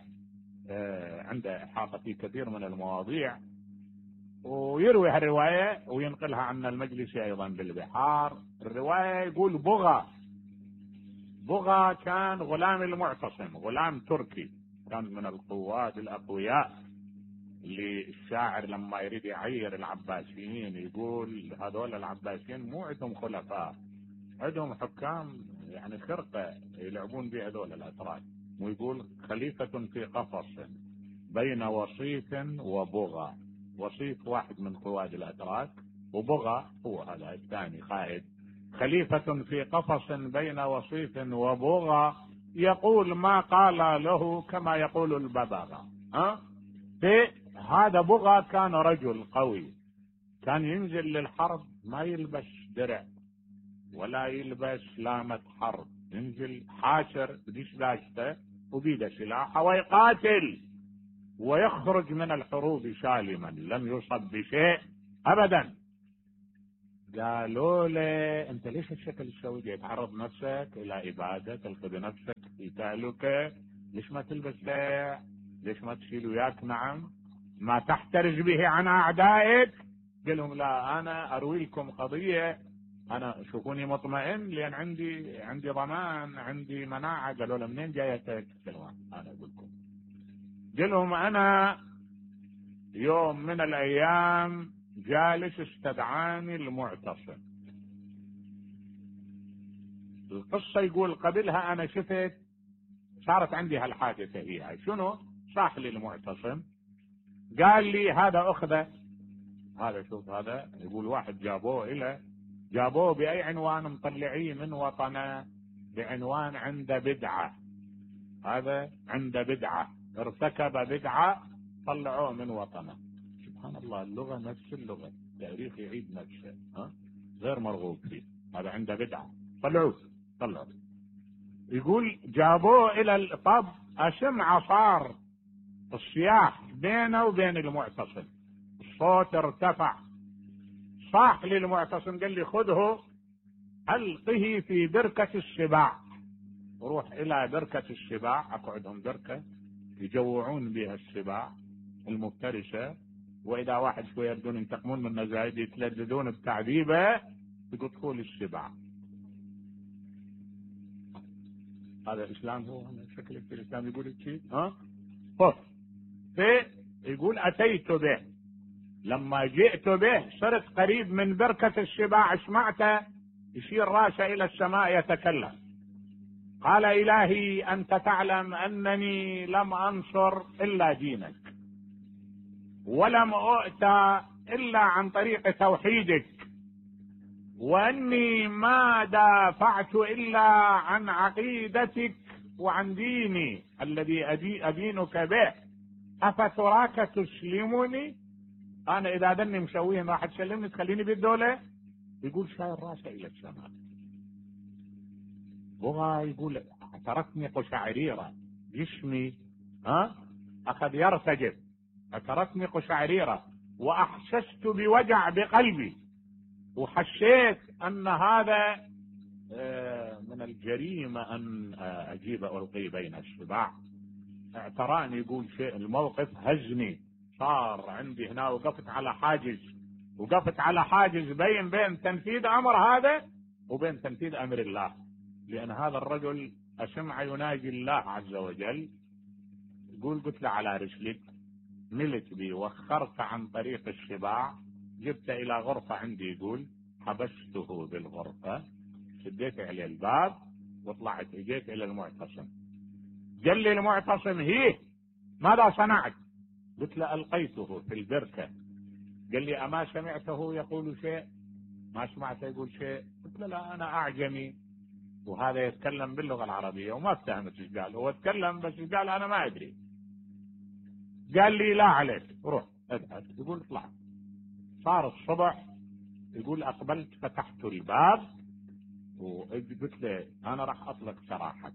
عنده إحاطة في كثير من المواضيع، ويروي هالرواية وينقلها عن المجلسي أيضا بالبحار. الرواية يقول بغى بغى كان غلام المعتصم، غلام تركي، كان من القوات الأقوياء اللي الشاعر لما يريد يعير العباسيين يقول هذول العباسيين مو عندهم خلفاء، عندهم حكام يعني خرقة يلعبون بها هذول الأتراك. ويقول خليفة في قفص بين وصيف وبغى. وصيف واحد من قواد الأتراك، وبغى هو هذا الثاني قائد. خليفة في قفص بين وصيف وبغى يقول ما قال له كما يقول الببغاء. ها هذا بغى كان رجل قوي، كان ينزل للحرب ما يلبس درع ولا يلبس لامة حرب، ينزل حاشر بديش داشته وبيده سلاحه ويقاتل ويخرج من الحروب سالما لم يصب بشيء ابدا. قالوا له انت ليش الشكل تسوي؟ تعرض نفسك الى اباده، تلقي بنفسك في تهلكه، ليش ما تلبس درع؟ ليش ما تشيل وياك نعم ما تحترز به عن اعدائك؟ قال لهم لا انا اروي لكم قضيه، انا شوفوني مطمئن لان عندي عندي ضمان، عندي مناعه. قالوا له منين جايتك؟ قالوا انا اقول لكم. قال لهم انا يوم من الايام جالس استدعاني المعتصم. القصه يقول قبلها انا شفت صارت عندي هالحادثه، هي شنو؟ صاح لي المعتصم قال لي هذا أخذه، هذا شوف هذا يقول واحد جابوه إلى جابوه بأي عنوان؟ مطلعيه من وطنه بعنوان عنده بدعة، هذا عنده بدعة، ارتكب بدعة، طلعوه من وطنه. سبحان الله، اللغة نفس اللغة، التاريخ يعيد نفسه، ها غير مرغوب فيه. هذا عنده بدعة، طلعوه طلعوه. يقول جابوه إلى الطب، أسمع صار الصياح بينه وبين المعتصم، الصوت ارتفع، صاح للمعتصم قال لي خذه ألقه في بركة السباع، روح إلى بركة السباع، أقعدهم بركة يجوعون بها السباع المفترسة، وإذا واحد شوية يردون ينتقمون من زايد يتلذذون بتعذيبه يقطفوا السباع. هذا الإسلام، هو شكلك في الإسلام يقول شيء ها خذ. يقول أتيت به، لما جئت به صرت قريب من بركة السباع، سمعته يشير راسه إلى السماء يتكلم، قال إلهي أنت تعلم أنني لم أنصر إلا دينك، ولم أؤتى إلا عن طريق توحيدك، وأني ما دافعت إلا عن عقيدتك وعن ديني الذي أدينك به، أفتراك تسلمني؟ أنا إذا دني مسويه راح تسلمني تخليني بالدولة؟ يقول شاير راسه إلى السماء، هو يقول تركني قشعريرة، جسمي ها أخذ يرتجف، تركني قشعريرة، وأحسست بوجع بقلبي، وحسيت أن هذا من الجريمة أن أجيب ألقي بين السباع. اعتراني، يقول شيء الموقف هزني، صار عندي هنا، وقفت على حاجز، وقفت على حاجز بين بين تنفيذ أمر هذا وبين تنفيذ أمر الله، لأن هذا الرجل أسمع يناجي الله عز وجل. يقول قلت له على رسلك، ملت بي، وخرت عن طريق السباع، جبت إلى غرفة عندي، يقول حبسته بالغرفة، شديت عليه الباب وطلعت، اجيت إلى المعتصم، قال لي المعتصم هي ماذا صنعت؟ قلت له ألقيته في البركة. قال لي أما سمعته يقول شيء؟ ما سمعته يقول شيء. قلت له لا أنا أعجمي وهذا يتكلم باللغة العربية، وما افتهمت ايش قال، هو اتكلم بس ايش قال أنا ما أدري. قال لي لا عليك، روح اذهب. يقول اطلع. صار الصبح، يقول أقبلت فتحت الباب وقلت له أنا راح أطلق سراحك،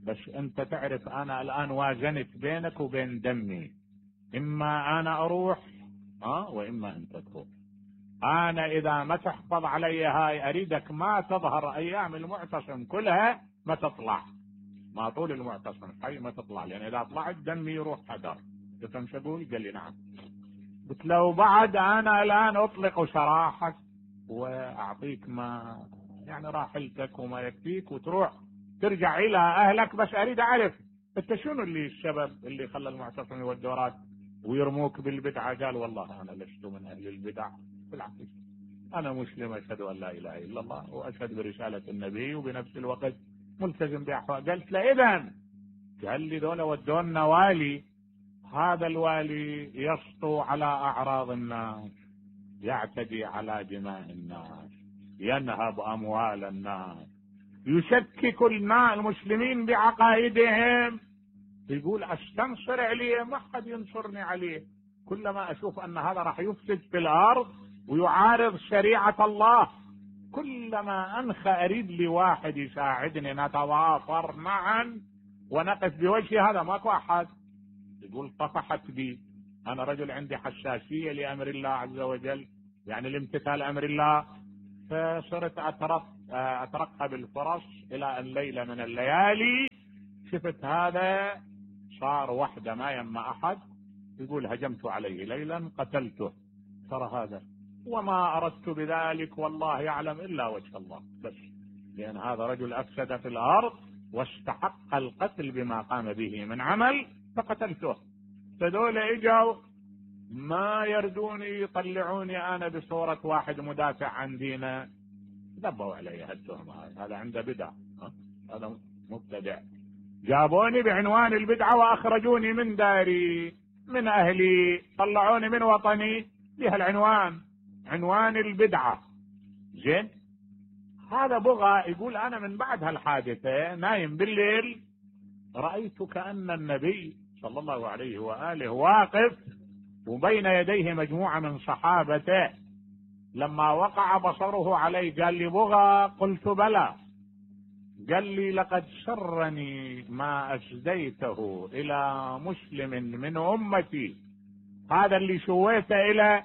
بس أنت تعرف أنا الآن وازنت بينك وبين دمي، إما أنا أروح ها وإما أنت تروح. أنا إذا ما تحفظ علي هاي أريدك ما تظهر أيام المعتصم كلها، ما تطلع، ما طول المعتصم حي ما تطلع، لأن إذا طلعت دمي يروح حذر. تفهم شو أقول؟ قال لي نعم. قلت له بعد أنا الآن أطلق سراحك وأعطيك ما يعني راحلتك وما يكفيك وتروح ترجع إلى أهلك، بس أريد أعرف أنت شنو اللي السبب اللي خلى المعتصم يودورات ويرموك بالبدعة؟ قال والله أنا لست من أهل البدع، بالعكس أنا مسلم أشهد أن لا إله إلا الله وأشهد برسالة النبي وبنفس الوقت ملتزم بأحوال. قلت له إذن، قال لي دول ودونا والي، هذا الوالي يسطو على أعراض الناس، يعتدي على دماء الناس، ينهب أموال الناس، يشكك المسلمين بعقائدهم. يقول أستنصر عليه، ما حد ينصرني عليه، كلما أشوف أن هذا راح يفسد في الأرض ويعارض شريعة الله، كلما أنخى أريد لي واحد يساعدني نتواصر معا ونقف بوجه هذا، ماكو أحد. يقول طفحت بي، أنا رجل عندي حساسية لأمر الله عز وجل، يعني لامتثال أمر الله، فصرت أترقب الفرص إلى أن ليلة من الليالي شفت هذا صار وحده ما يما أحد، يقول هجمت عليه ليلا قتلته، ترى هذا وما أردت بذلك والله يعلم إلا وجه الله، بس لأن هذا رجل أفسد في الأرض واستحق القتل بما قام به من عمل فقتلته. فدول اجوا ما يردوني يطلعوني أنا بصورة واحد مدافع عن دينه، ذبوا علي هالتهمة، هذا عنده بدع، هذا مبتدع. جابوني بعنوان البدعة وأخرجوني من داري، من اهلي، طلعوني من وطني بهالعنوان، عنوان البدعة. زين، هذا بغى يقول انا من بعد هالحادثة نايم بالليل رأيت كأن النبي صلى الله عليه وآله واقف وبين يديه مجموعة من صحابته. لما وقع بصره علي قال لي بغى؟ قلت بلى. قال لي لقد شرني ما أسديته إلى مسلم من أمتي، هذا اللي شويته إلى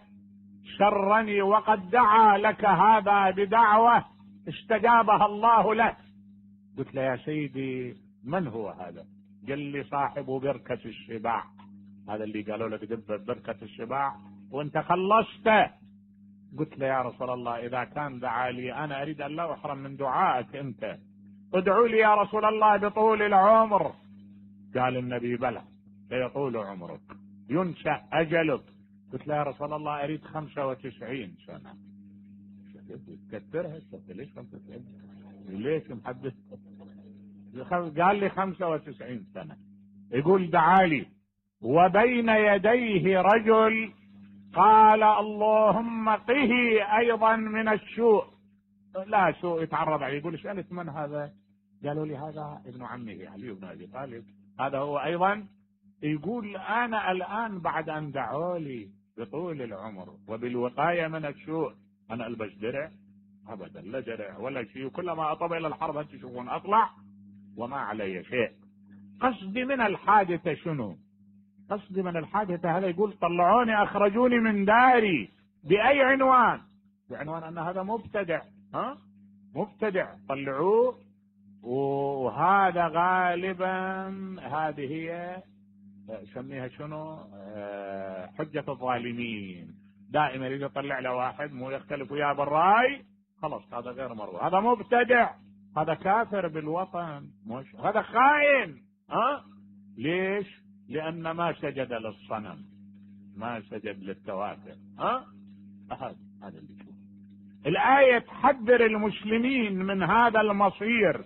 شرني، وقد دعا لك هذا بدعوة استجابها الله له. قلت له يا سيدي من هو هذا؟ قال لي صاحب بركة الشباع، هذا اللي قالوا لك دب بركة الشباع وانت خلصته. قلت له يا رسول الله إذا كان دعا لي أنا أريد أن لا أحرم من دعائك أنت، ادعوا لي يا رسول الله بطول العمر. قال النبي بلى سيطول عمرك ينشأ أجلك. قلت له يا رسول الله أريد خمسة وتسعين سنة. كثرها ليش خمسة وتسعين؟ ليش محدث؟ قال لي خمسة وتسعين سنة. يقول دعالي وبين يديه رجل قال اللهم قه أيضا من السوء، لا سوء يتعرض عليه. يقول سألت من هذا؟ قالوا لي هذا ابن عمه علي بن أبي طالب، هذا هو أيضا. يقول أنا الآن بعد أن دعوا لي بطول العمر وبالوقاية من السوء، أنا ألبس درع؟ أبدا، لا درع ولا شيء، كلما أطب إلى الحرب هل تشوفون أطلع وما علي شيء. قصدي من الحادثة شنو؟ قصدي من الحادثة هذا يقول طلعوني أخرجوني من داري بأي عنوان؟ بعنوان أن هذا مبتدع، ها مبتدع، طلعوه. وهذا غالبا هذه هي سميها شنو حجة الظالمين، دائما إذا طلع له واحد مو يختلف وياه بالرأي خلاص هذا غير مرغوب، هذا مبتدع، هذا كافر بالوطن، مش هذا خائن. ها ليش؟ لأن ما سجد للصنم، ما سجد للتواتر. ها هذا هذا اللي شوف. الآية تحذر المسلمين من هذا المصير،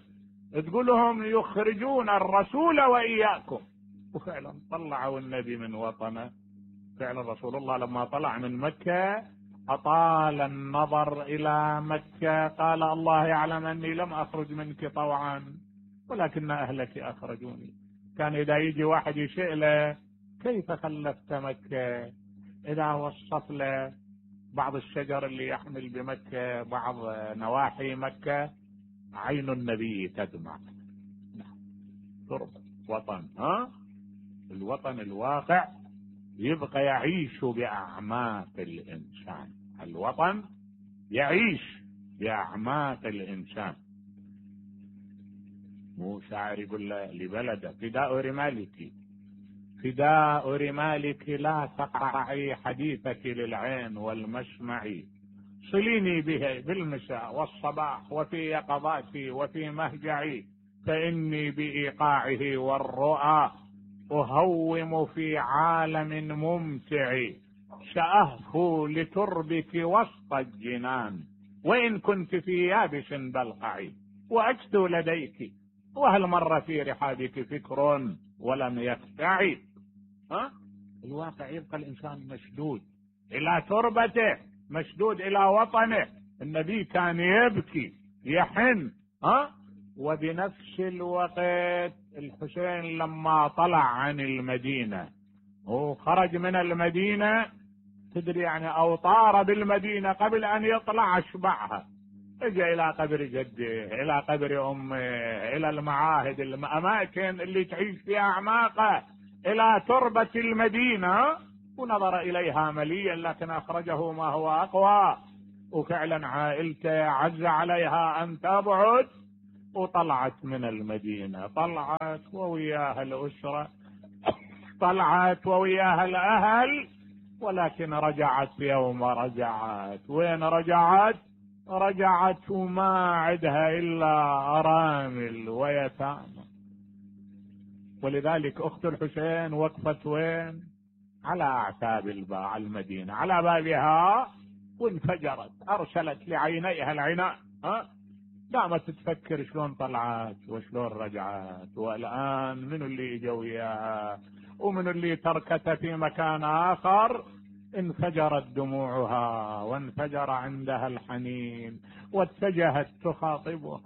تقول لهم يخرجون الرسول وإياكم، وفعلا طلعوا النبي من وطنه. فعلا رسول الله لما طلع من مكة أطال النظر إلى مكة، قال الله يعلم أني لم أخرج منك طوعا ولكن أهلك أخرجوني. كان إذا يجي واحد يسأله كيف خلفت مكة، إذا وصف له بعض الشجر اللي يحمل بمكة، بعض نواحي مكة، عين النبي تدمع. تربة وطن، ها الوطن الواقع يبقى يعيش بأعماق الإنسان، الوطن يعيش بأعماق الإنسان. مو شاعر يقول لبلده فداء رمالك فداء رمالك لا تقطعي حديثك للعين والمسمع، صليني به بالمساء والصباح وفي يقظاتي وفي مهجعي، فإني بإيقاعه والرؤى أهوم في عالم ممتع، سأهفو لتربك وسط الجنان وإن كنت في يابس بلقعي، وأجدو لديك وهل مر في رحابك فكر ولم يقطعي. ها الواقع يبقى الإنسان مشدود إلى تربته، مشدود إلى وطنه. النبي كان يبكي يحن، ها وبنفس الوقت الحسين لما طلع عن المدينة وخرج من المدينة، تدري يعني أو طار بالمدينة قبل أن يطلع أشبعها، اجى إلى قبر جده، إلى قبر أمه، إلى المعاهد، الأماكن اللي تعيش فيها أعماقه، إلى تربة المدينة، ونظر إليها مليا، لكن أخرجه ما هو أقوى. وفعلا عائلته عز عليها أن تبعد، وطلعت من المدينة، طلعت ووياها الأسرة، طلعت ووياها الأهل، ولكن رجعت يوم رجعت. وين رجعت؟ رجعت وما عدها إلا أرامل ويتامى. ولذلك أخت الحسين وقفت وين؟ على أعتاب الباب المدينة، على بابها، وانفجرت، أرسلت لعينيها العناء، ها قامت تفكر شلون طلعت وشلون رجعت، والآن منو اللي اجا وياها ومنو اللي تركتها في مكان آخر. انفجرت دموعها وانفجر عندها الحنين، واتجهت تخاطبه